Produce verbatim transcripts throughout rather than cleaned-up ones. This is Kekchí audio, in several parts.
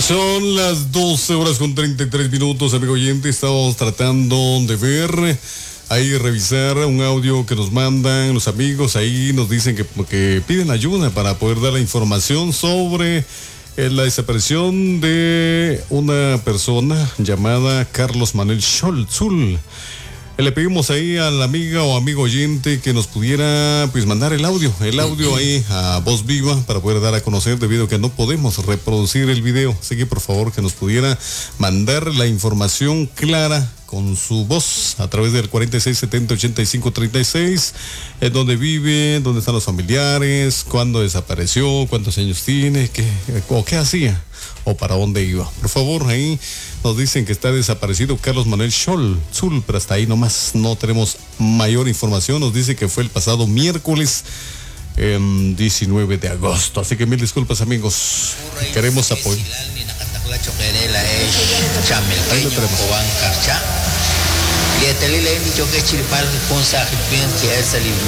Son las doce horas con treinta y tres minutos, amigo oyente. Estamos tratando de ver, ahí revisar un audio que nos mandan los amigos. Ahí nos dicen que, que piden ayuda para poder dar la información sobre la desaparición de una persona llamada Carlos Manuel Xoltzul. Le pedimos ahí a la amiga o amigo oyente que nos pudiera, pues, mandar el audio, el audio ahí a Voz Viva para poder dar a conocer, debido a que no podemos reproducir el video. Así que por favor que nos pudiera mandar la información clara con su voz a través del cuarenta y seis setenta ochenta y cinco treinta y seis, en dónde vive, dónde están los familiares, cuándo desapareció, cuántos años tiene, qué, o qué hacía o para dónde iba. Por favor, ahí nos dicen que está desaparecido Carlos Manuel Xoltzul, pero hasta ahí nomás no tenemos mayor información. Nos dice que fue el pasado miércoles eh, diecinueve de agosto. Así que mil disculpas, amigos. Queremos apoyo. Ahí lo tenemos.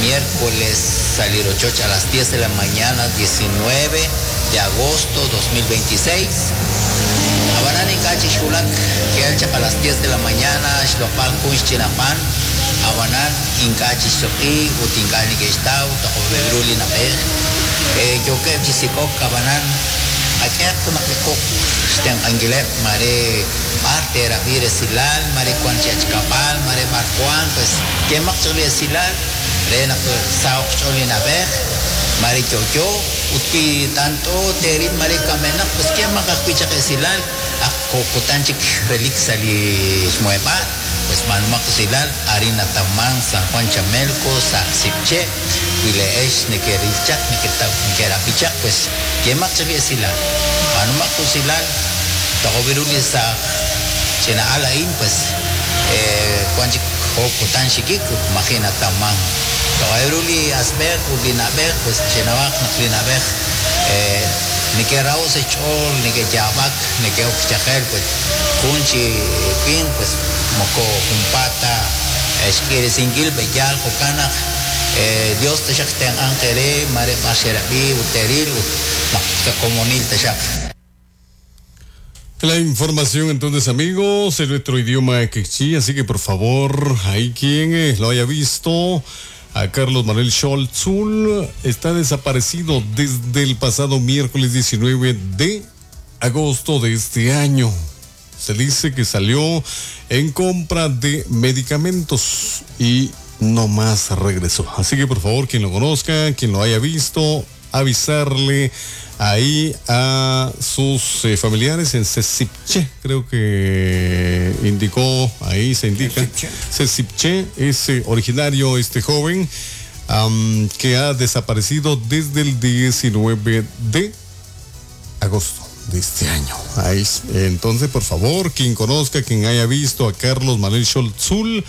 Miércoles salir ocho a las diez de la mañana, diecinueve de agosto dos mil veintiséis. Abanani kachi shulak que a las diez de la mañana, Xlopal Kunch Chinapan, Abanan Inkachi Shoki, Utinkani Gestau, Tojobebruli Napej, Yokev Chisikok, Abanan, Akerto Nakekok, Sten Anguilep, Mare Parte, Rabire Silal, Mare Cuanchachcapal, Mare Marjuan, pues, ¿qué más Silal? Rena Saok Cholinabej, Mare Kyoyo, Utki tanto terin Mare Kamena, pues, ¿qué más Silal? Kokotanchik Relix Ali Shmuepa, pues Manumakusilal, Harina Tamán, San Juan Chamelco, Saxipche, Wileesh, Nekerilchak, Nekerapichak, pues, ¿qué más Silal? Manumakusilal, Togoviruli sa Chena Alain, pues, Cuanchik Kokotanchik, Imagina Tamán. Togoviruli Asber, Ulinabej, pues, Chenabaj, Naklinabej, eh, ni que Raúl se chol, ni que Yabak, ni que Oxchajel, pues, Kunchi, Pin, pues, Moko, Jumpata, Esquire, Singil, Beyal, Jocana, Dios te shakten Angele, Mare Masherabi, Uteril, Comunil te shak. La información entonces, amigos, en nuestro idioma quechí, así que por favor, ahí quien lo haya visto, a Carlos Manuel Xoltzul, está desaparecido desde el pasado miércoles diecinueve de agosto de este año. Se dice que salió en compra de medicamentos y no más regresó. Así que por favor, quien lo conozca, quien lo haya visto, avisarle ahí a sus eh, familiares en Cecipche, creo que indicó, ahí se indica, Cecipche, es originario este joven um, que ha desaparecido desde el diecinueve de agosto de este año. Ahí, entonces, por favor, quien conozca, quien haya visto a Carlos Manuel Xoltzul,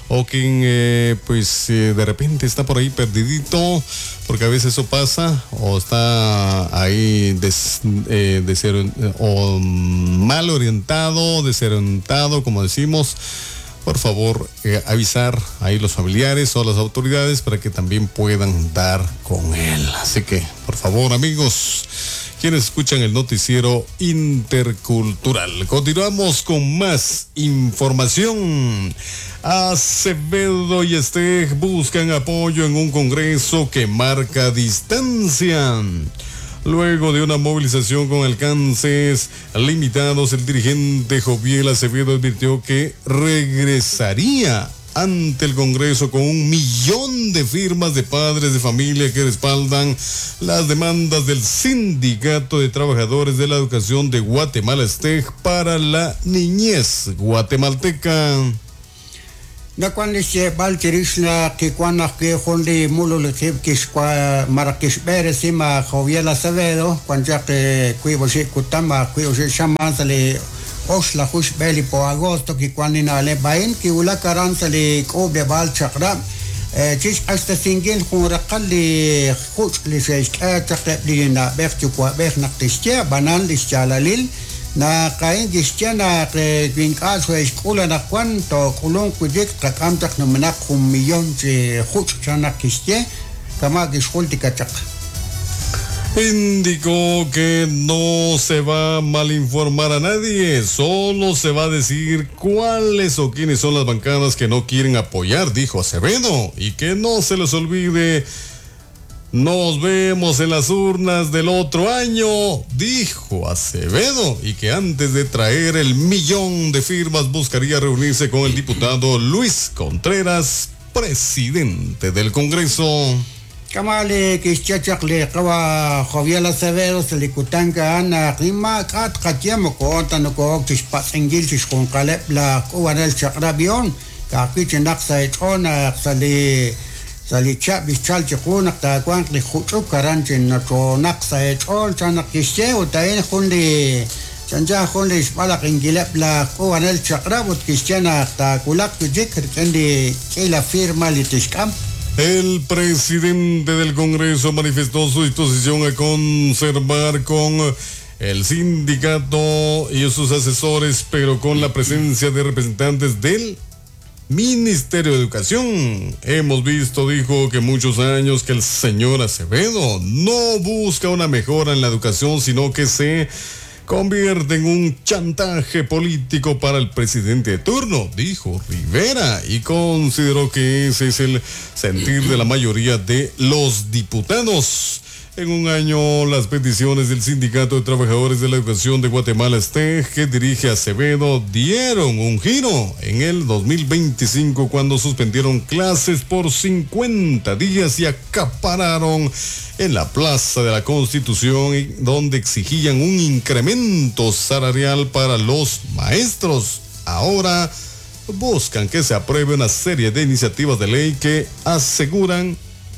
o quien eh, pues eh, de repente está por ahí perdidito, porque a veces eso pasa, o está ahí des, eh, deser, o mal orientado, desorientado, como decimos, por favor, eh, avisar ahí los familiares o las autoridades para que también puedan dar con él. Así que, por favor, amigos, quienes escuchan el noticiero intercultural. Continuamos con más información. Acevedo y Esteg buscan apoyo en un congreso que marca distancia. Luego de una movilización con alcances limitados, el dirigente Joviel Acevedo advirtió que regresaría ante el Congreso con un millón de firmas de padres de familia que respaldan las demandas del Sindicato de Trabajadores de la Educación de Guatemala, STEG, para la niñez guatemalteca. Na cuando se baltirishna que cuando que jondi mululukib kishkwa marakishbere sima Joviel Acevedo cuando ya que cuibo kutama cuibo shaman sale oxla hush beli po agosto que cuando na le bain que ula karan sale kobe bal chakra chish hasta singil juraqali hush li sheshka chaqli na berchu kwa ber naqtishya banan lischalalil na kain gishchana que vincal su escuela na cuanto culón kujik qamtaq numanaq un millón de hush chana kishye kama gishulti kachaq. Indicó que no se va a malinformar a nadie, solo se va a decir cuáles o quiénes son las bancadas que no quieren apoyar, dijo Acevedo, y que no se les olvide. Nos vemos en las urnas del otro año, dijo Acevedo, y que antes de traer el millón de firmas buscaría reunirse con el diputado Luis Contreras, presidente del Congreso. Kamali kixchachaq li qawa Joviel Acevedo selikutanka ana qima k'at qatiamo koonta nokook chixpatz'inkil chixjunqaleb' la k'uwanel chaq'rab'ion ka'ajwi' sa ech'oon sali sali chab' ixchal chiqu naq taawanq li juch'uk aran chinochonaq sa ech'ool chan naq kixye ut a'in jun li chancha jun li xb'alaq inkileb' la k'uwanel chaq'rab' ut kixye naq taakulaq wi'chik rik'in li k'ila firma li tixk'am. El presidente del Congreso manifestó su disposición a conservar con el sindicato y sus asesores, pero con la presencia de representantes del Ministerio de Educación. Hemos visto, dijo, que muchos años que el señor Acevedo no busca una mejora en la educación, sino que se convierte en un chantaje político para el presidente de turno, dijo Rivera, y consideró que ese es el sentir de la mayoría de los diputados. En un año, las peticiones del Sindicato de Trabajadores de la Educación de Guatemala, S T E G, que dirige Acevedo, dieron un giro en el dos mil veinticinco cuando suspendieron clases por cincuenta días y acapararon en la Plaza de la Constitución, donde exigían un incremento salarial para los maestros. Ahora buscan que se apruebe una serie de iniciativas de ley que aseguran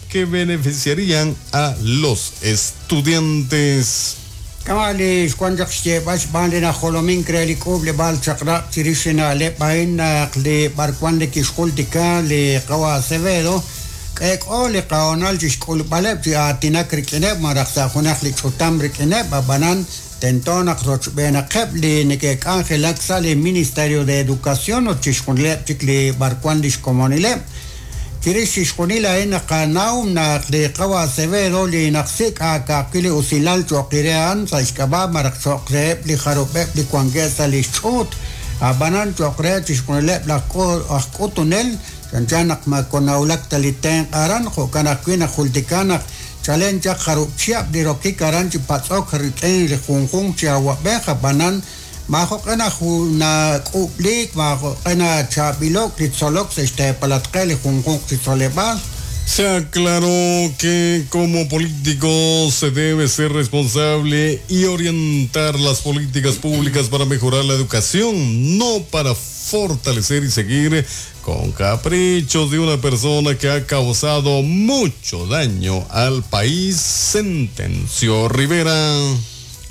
que beneficiarían a los estudiantes. Kamali, cuando se va a la jolomin cree que le va al chakra, chirishina le paina le barcuan le quiscultica le kawa Acevedo, que o le kaonal chisculpalep a tinakrikinep maraxajunak le chutamrikinep banan tentonak rochbenakep le neke angelaxa le Ministerio de Educación o chisculep chikle barcuan lishkomonilep. Chirix xjunil a'in qanaw naq li qawa Acevedo li naqsik akaqili usilal choqirean sa xk'ab'a maraq choqreheb' li jarub'eb' li wankeb' sa li xch'uut ab'anan choqreheb' chixjunileb' laj k'utunel chanchan naq makonawlak ta li tenq' aran jo'kan ajwi' naq jultika naq chalen chaq jarub' chihab' li rokik aran chi patz'ok rik'in li junjunq chi awab'ej ab'anan majoq'ena na k'ub'lik majoq'ena chabilok li tzolok sa xtepalatqe li junjunq chi tzoleb'al. Se aclaró que como político se debe ser responsable y orientar las políticas públicas para mejorar la educación, no para fortalecer y seguir con caprichos de una persona que ha causado mucho daño al país, sentenció Rivera.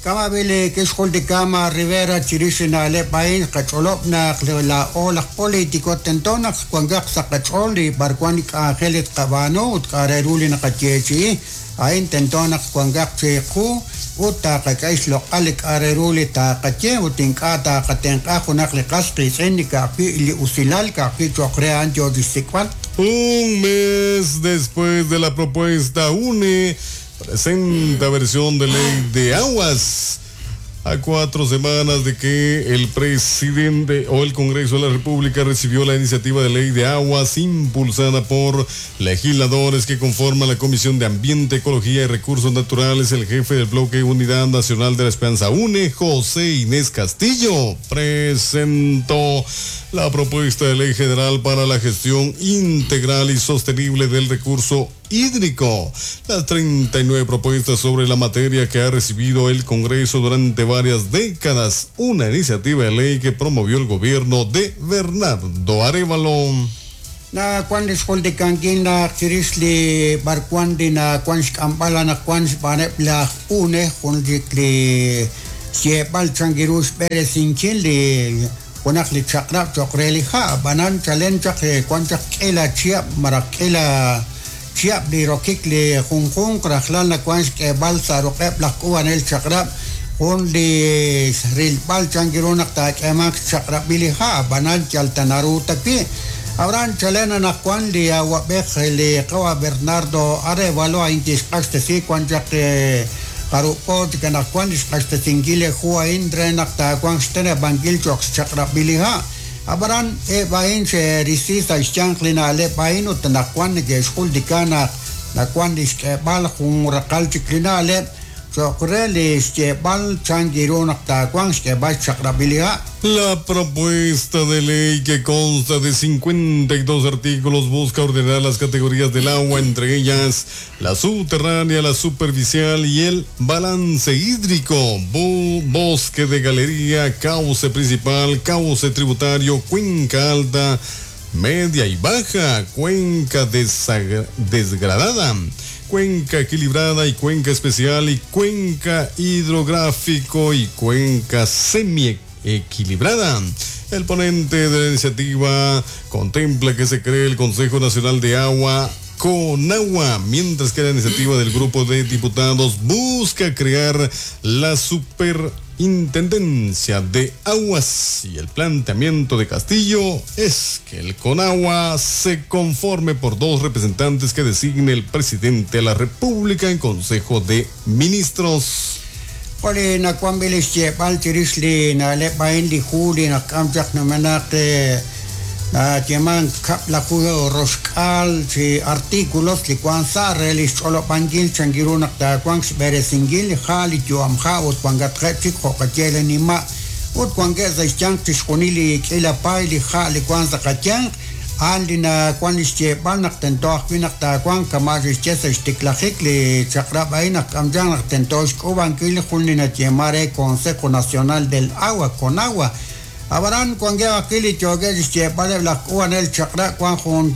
Kamabili kixjuldikama Rivera chirixina le país qach'olob'naq la olaj político tentonaq kuankaq saqach'ol li barkuan k'anjelit qab'ano ut k'areruli naqayechi'i a'in tentonaq kuankaq chiqu ut taqak'ay xloq'al li k'areruli taqaye ut ink'a' taqatenq'a junaq li qas qitz'in li ka'ajwi' li usilal ka'ajwi' choq re a'an yo lixsik'b'al. Un mes después de la propuesta U N E presenta versión de ley de aguas. A cuatro semanas de que el presidente o el Congreso de la República recibió la iniciativa de ley de aguas impulsada por legisladores que conforman la Comisión de Ambiente, Ecología y Recursos Naturales, el jefe del bloque Unidad Nacional de la Esperanza U N E, José Inés Castillo, presentó la propuesta de ley general para la gestión integral y sostenible del recurso hídrico. Las treinta y nueve propuestas sobre la materia que ha recibido el Congreso durante varias décadas, una iniciativa de ley que promovió el gobierno de Bernardo Arévalo. Na kwan lixjultikankin na chirix li barkuan li na kwan xk'amb'ala na kwan xb'aneb' laj U N E jun chik li xyeeb'al chankiru xb'eresinkil li junaq li chaq'rab' choq re li ha' b'anan chalen chaq kwan chaq k'ila chihab' maraq k'ila chihab' li rokik li junjunq rajlal na kwan xk'eeb'al sa ruq'eb' laj k'uwanel chaq'rab' jun li rilb'al chankiru naq taak'eemanq xchaq'rab'il li ha' b'anan yal tanaru taki Abraham chalena naq kwan li awab'ej li qawa Bernardo Arévalo a'in kixq'axtesi kwan chaq Jarub' po chik anaqwan li xq'axtesinkil li hu a'in re naq taawanq xteneb'ankil cho'q xchaq'rab'il li ha'. Ab'anan eb' a'in xe'risi sa' xyanq li na'leb' a'in ut anaqwan neke'xjultika naq nawan li xk'eeb'al jun raqal chik li na'leb' cho'q re li xyeeb'al chan ru naq taawanq xk'eeb'al xchaq'rab'il li ha'. La propuesta de ley, que consta de cincuenta y dos artículos, busca ordenar las categorías del agua, entre ellas la subterránea, la superficial y el balance hídrico, bosque de galería, cauce principal, cauce tributario, cuenca alta, media y baja, cuenca desgradada, cuenca equilibrada y cuenca especial y cuenca hidrográfico y cuenca semi equilibrada. El ponente de la iniciativa contempla que se cree el Consejo Nacional de Agua, CONAGUA, mientras que la iniciativa del grupo de diputados busca crear la Superintendencia de Aguas, y el planteamiento de Castillo es que el CONAGUA se conforme por dos representantes que designe el presidente de la República en Consejo de Ministros. Li nawanb'il xyeeb'al chirix li na'leb' a'in li hu li naqk'am chaq numenaq nayeeman kab'laju roxk'aal chi artículos li wan sa' re li xch'olob'ankil chan ru naq taawanq xb'eresinkil li ha' li yu'am ha' ut wankatqeb' chik jo' qaye li nima' ut wankeb' sa' xyanq chixjunil li k'iila paay li ha' li wan sa' qayanq a'an li nawan li xyeeb'al naq tento ajwi' naq taawanq kama' xixye sa' xtiklajik li chaq'rab' a'in naq k'amchaq naq tento xk'uub'ankil jun li nayeeman re Consejo Nacional del Agua, CONAGUA. Ab'anan wankeb' ajwi' li yookeb' xyeeb'aleb' laj k'uub'anel chaq'rab' wan jun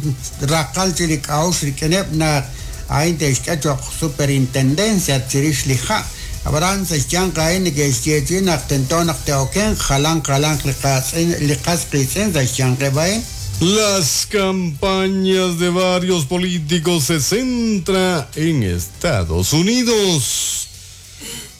raqal chi li k'a'uxl rik'ineb' naq a'in te'xk'e cho'q superintendencia chirix li ha'. Ab'anan sa' xyanq a'in neke'xyeechi naq tento naq te'okenq jalan jalanq li qatz'in li qas qiitz'in sa' xyanqeb' a'in. Las campañas de varios políticos se centra en Estados Unidos.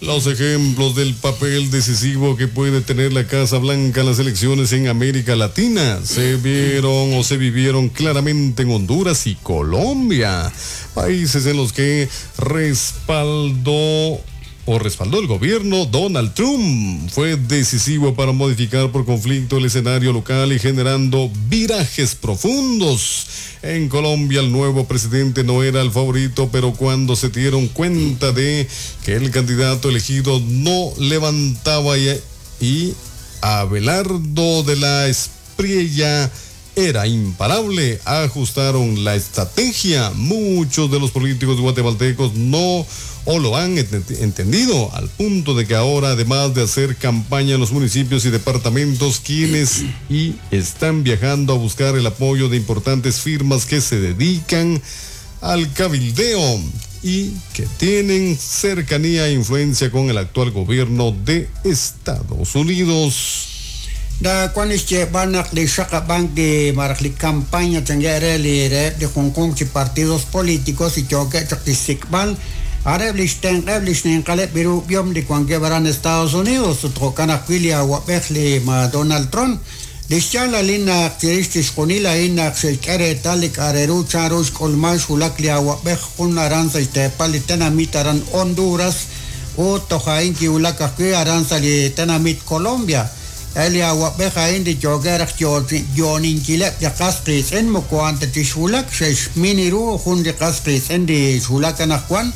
Los ejemplos del papel decisivo que puede tener la Casa Blanca en las elecciones en América Latina se vieron o se vivieron claramente en Honduras y Colombia, países en los que respaldó o respaldó el gobierno Donald Trump. Fue decisivo para modificar por conflicto el escenario local y generando virajes profundos. En Colombia, el nuevo presidente no era el favorito, pero cuando se dieron cuenta de que el candidato elegido no levantaba y, y Abelardo de la Espriella era imparable, ajustaron la estrategia. Muchos de los políticos guatemaltecos no o lo han entendido, al punto de que ahora, además de hacer campaña en los municipios y departamentos, quienes y están viajando a buscar el apoyo de importantes firmas que se dedican al cabildeo y que tienen cercanía e influencia con el actual gobierno de Estados Unidos. Da wan xyeeb'al naq li xaqab'ank li maraj li campaña change re li reheb' li junjunq chi partidos políticos y yookeb' chaq tixsik'b'al areb' li xtenq'eb' li xninqaleb' birub'ihom li wankeb' aran Estados Unidos ut jo'kan ajwi' li awab'ej li ma Donald Trump li xyaalalil naq chirix chixjunil a'in naq xe'xk'e reetal li k'a' re ru chan ru xk'ulman xwulak li awab'ej jun aran sa' xteepal li tenamit aran Honduras ut toj a'in kiwulak ajwi' aran sa' li tenamit Colombia. Li awab'ej a'in li yookeb' raj yooninkileb' li qas qiitz'in moko a'an ta chixwulak xe'xmin ru jun li qas qiitz'in li xwulak anaqwan.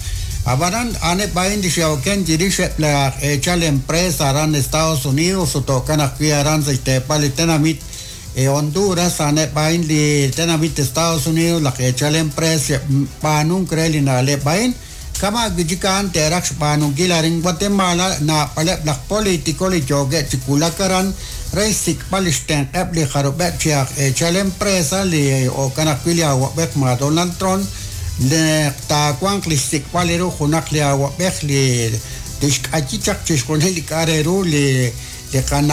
Ab'anan a'aneb' a'in li xe'oken chirix eb' laj eechal empresa aran Estados Unidos ut jo'kan ajwi' aran sa' xteepal li tenamit Honduras a'aneb' a'in li tenamit Estados Unidos laj eechal empresa xe'b'aanunk re li na'leb' a'in kama' wi' chik a'an te'raj xb'aanunkil arin Guatemala naab'aleb' laj político li yookeb' chi wulak aran re xsik'b'al li xtenq'eb' li jarub'eb' chi aj eechal empresa li jo'kan ajwi' li awab'ej ma Donald Trump li taawanq li xsik'b'al ru junaq li awab'ej li tixk'ayi chaq chixjunil li k'a' re ru li li qana